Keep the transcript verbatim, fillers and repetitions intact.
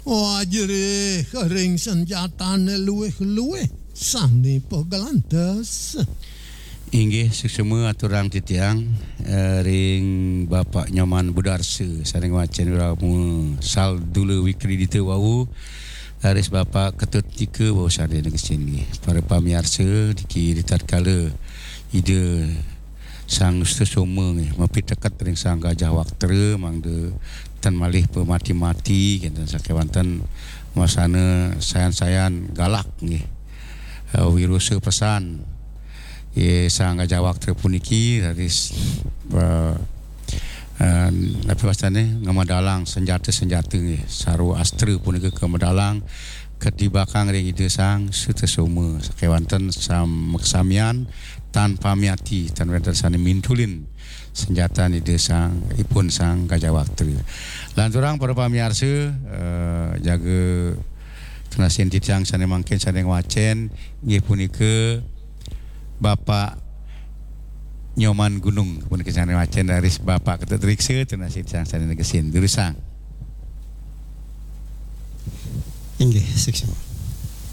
Wajrih ring senjatane luwih-luwih sane pagelantes. Inggih, suksma aturang titiang, eh, ring Bapak Nyoman Budarsa, sane ngwacen wirama Saldula Wikridita wau, raris Bapak Ketut Tika wau sane negesin nggih. Para pamiarsa, niki ritatkala Ida Sang Sutasoma nggih, mapiteket ring Sang Gajah Waktra, mangda tan malih pamati-mati, kenten sakewanten wasana sayan-sayan galak nggih. Eh, wirusa pesan. Nggih, Sang Gajah Waktra puniki raris, eh, eh, napi wastane, ngamedalang senjata-senjata nggih, sarwa astra punika kamedalang katibakang ring Ida Sang Sutasoma sakewanten sam-, maksamian tan pamiati, tan wenten sane mintulin senjatan Ida Sang, ipun Sang Gajah Waktra. Lanturang para pamiarsa, eh, jaga tunasin titiang sane mangkin sane ngwacen, inggih punika Bapak Nyoman Gunung, punika sane ngwacen, raris Bapak Ketut Riksa, tunasin titiang sane negesin. Durusang. Inggih, suksma.